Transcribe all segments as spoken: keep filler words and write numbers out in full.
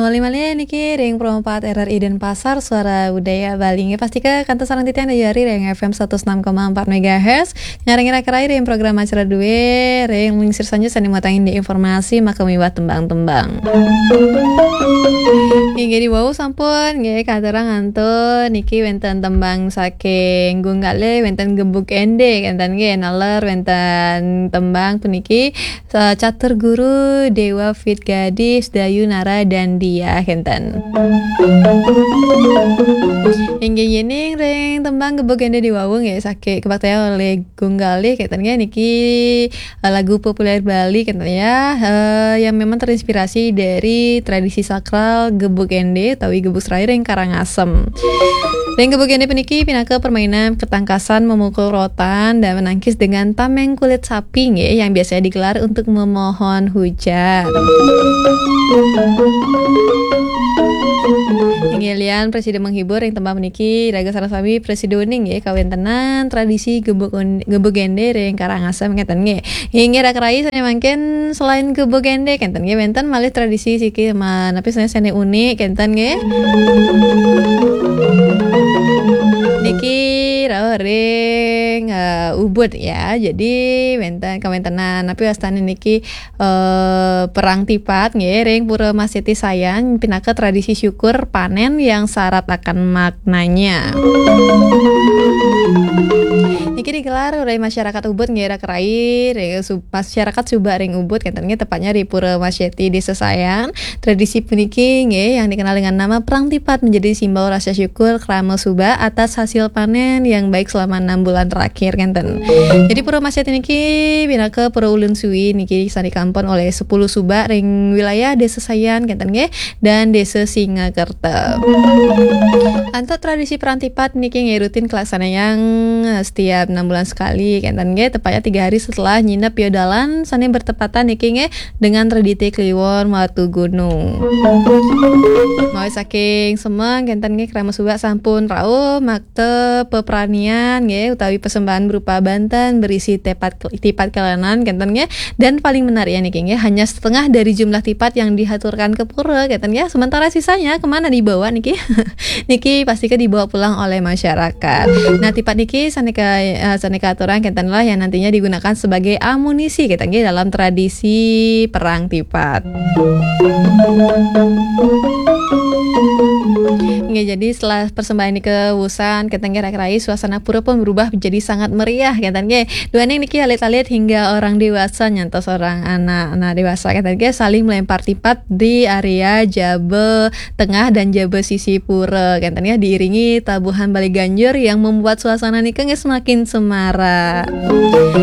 Malih-malih niki ring Pro empat R R I Denpasar, Suara Budaya Bali. Nggih, pastika kantos sareng titiang Dayu Ari ring F M satus enam koma empat megahertz. Ngiring raka-raka ring program acara dué, ring lingsir sanjaya sané matangin di informasi maka miwah tembang-tembang. Inggih, diwau sampun nggih katurang antuk niki wénten tembang saking Gung Galih, wénten Gebug Éndé, kénten nggih, naler wénten tembang puniki Sa-, Catur Guru Dewa Fit Gadis Dayu Nara dan Dia, kénten. Inggih, yéning ring tembang Gebug Éndé diwau nggih, saking kabaktian olih Gung Galih, kénten nggih, niki, eh, lagu populer Bali, kénten ya, eh, yang memang terinspirasi dari tradisi sakral Gebug Éndé utawi Gebug Serai ring Karangasem. Ring Gebug Éndé puniki pinaka permainan ketangkasan memukul rotan dan menangkis dengan tameng kulit sapi nggih, yang biasanya digelar untuk memohon hujan. Inggih, lian prasida menghibur ring tembang puniki, raga sareng sami prasida uning nggih, kawéntenan tradisi Gebug Un-, Gebug Éndé ring Karangasem, kénten nggih. Inggih, raka-raka sané mangkin selain Gebug Éndé, kénten nggih, wénten malih tradisi siki ma-, napi sané, sané unik, kénten nggih. Niki rauh ring, eh, Ubud ya. Jadi wénten kawéntenan napi wastané niki, eh, Perang Tipat nggih, ring Pura Maseti Sayan, pinaka tradisi syukur panén yang syarat akan maknanya. Niki digelar oleh masyarakat Ubud nggih, raka-raka, ring Sub-, masyarakat Subak ring Ubud, kénten nggih, tepatnya di Pura Maseti, Desa Sayan. Tradisi puniki nggih, yang dikenal dengan nama Perang Tipat, menjadi simbol rasa syukur krama Subak atas hasil panen yang baik selama enam bulan terakhir, kénten. Jadi Pura Maseti niki pinaka pura ulun suwi niki, sané kaempen oleh sepuluh Subak ring wilayah Desa Sayan, kénten nggih, dan Desa Singakerta. Antuk tradisi Perang Tipat niki nggih rutin kalaksanayang, eh, setiap enam bulan sekali, kénten nggih, tepatnya tiga hari setelah nyinep piodalan sané bertepatan niki nggih dengan Tradité Kliwon Watu Gunung. Mawi saking semeng, kénten nggih, krama Subak sampun rauh makta pepranian nggih, utawi persembahan berupa banten berisi tipat, tipat kalanan, kénten nggih. Dan paling menarik ya niki nggih, hanya setengah dari jumlah tipat yang dihaturkan ke pura, kénten nggih. Sementara sisanya kemana dibawa niki? Niki pastika dibawa pulang oleh masyarakat. Nah, tipat niki sané ka-, eh, sané katurang, kénten lah yang nantinya digunakan sebagai amunisi, kénten nggih, dalam tradisi Perang Tipat. Nggih, jadi setelah persembahan niki wusan, kénten nggih, raka-raka, suasana pura pun berubah menjadi sangat meriah, kénten nggih. Duaning niki alit-alit hingga orang dewasa nyantos orang anak, anak dewasa, kénten nggih, saling melempar tipat di area jaba tengah dan jaba sisi pura, kénten ya, diiringi tabuhan balé ganjur yang membuat suasana niki nggih semakin semarak.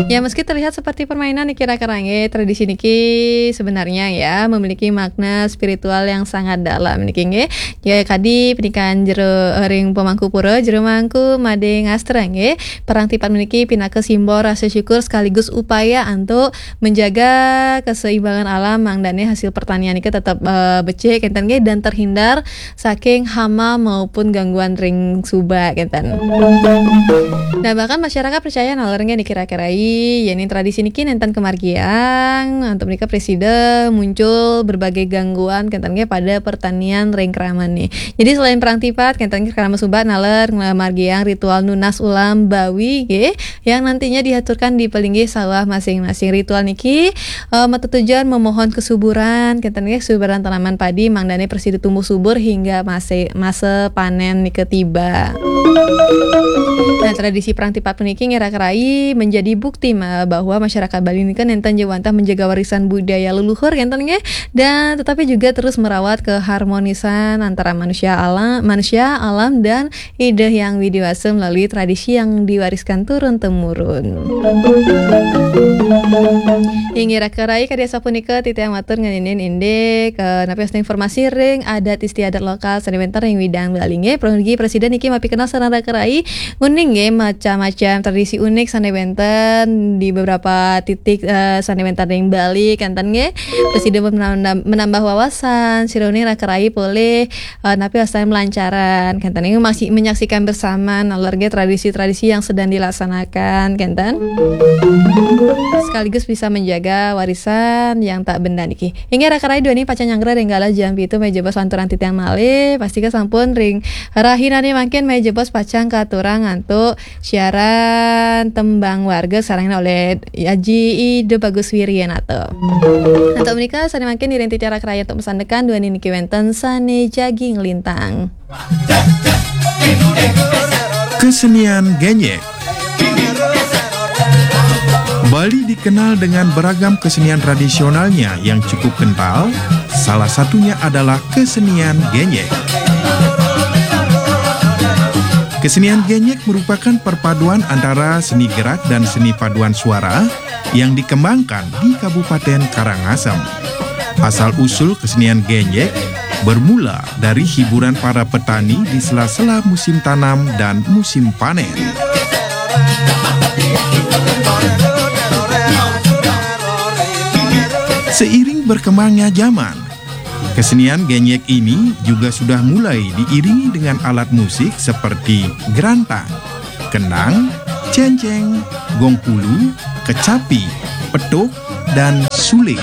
Ya, meski terlihat seperti permainan niki, raka-raka nggih, tradisi niki sebenarnya ya memiliki makna spiritual yang sangat dalam niki nggih. Ya, kadi panikan jero, ring pemangku pura, jero mangku madé ngastra nggih. Perang Tipat puniki pinaka simbol rasa syukur sekaligus upaya antuk menjaga keseimbangan alam, mangdané hasil pertanian niki tetep, eh, becik, kénten nggih, dan terhindar saking hama maupun gangguan ring Subak, kénten. Nah, bahkan masyarakat percaya naler nggih niki, raka-raka, yén tradisi niki nénten kamargiang, antuk menika prasida muncul berbagai gangguan, kénten nggih, pada pertanian ring kramané. Jadi selain Perang Tipat, kénten nggih, krama Subak naler nglamargiang ritual nunas ulam bawi nggih, yang nantinya dihaturkan di pelinggih sawah masing-masing. Ritual niki, eh, matetujuan memohon kesuburan, kénten nggih, kesuburan tanaman padi, mangdané prasida tumbuh subur hingga mase-, masa panen nika tiba. Nah, tradisi Perang Tipat puniki nggih, raka-raka, menjadi bukti ma-, bahwa masyarakat Bali nika nénten ja wantah menjaga warisan budaya leluhur, kénten nggih, dan tetapi juga terus merawat keharmonisan antara manusia alam, manusia, alam, dan Ida Hyang Widhi Wasa melalui tradisi yang diwariskan turun temurun. Inggih, raka-raka, kadi asapunika titiang matur ngeninin indik, eh, napi wasta informasi ring adat istiadat lokal sané wénten ring widang Bali nggih. Prasida niki mapikenal sareng raka-raka uning Oke, macam-macam tradisi unik sané wénten di beberapa titik, eh, sané wénten ring Bali, kénten nggih. Prasida menambah, menambah wawasan, sira uning raka rayi polih, eh, napi wastané melancaran, kénten nggih, masih menyaksikan bersama naler nggih tradisi-tradisi yang sedang dilaksanakan, kénten. Sekaligus bisa menjaga warisan yang tak benda niki. Inggih raka rayi duaning pacang nyanggra ring galah jam pitu malih jebos lanturang titiang malih, pastika sampun ring rahinané mangkin malih jebos pacang katurang antuk siaran tembang warga sarengin oleh Aji Ida Bagus Wiryanata. Antuk menika sané mangkin ngiring titiang raka rayi antuk masandekan duaning niki wénten sané jagi nglintang. Kesenian Genyek. Bali dikenal dengan beragam kesenian tradisionalnya yang cukup kental, salah satunya adalah kesenian Genyek. Kesenian Genyek merupakan perpaduan antara seni gerak dan seni paduan suara yang dikembangkan di Kabupaten Karangasem. Asal-usul kesenian Genyek bermula dari hiburan para petani di sela-sela musim tanam dan musim panen. Seiring berkembangnya zaman, kesenian Genyek ini juga sudah mulai diiringi dengan alat musik seperti gerantang, kendang, cenceng, gong pulu, kecapi, petuk, dan suling.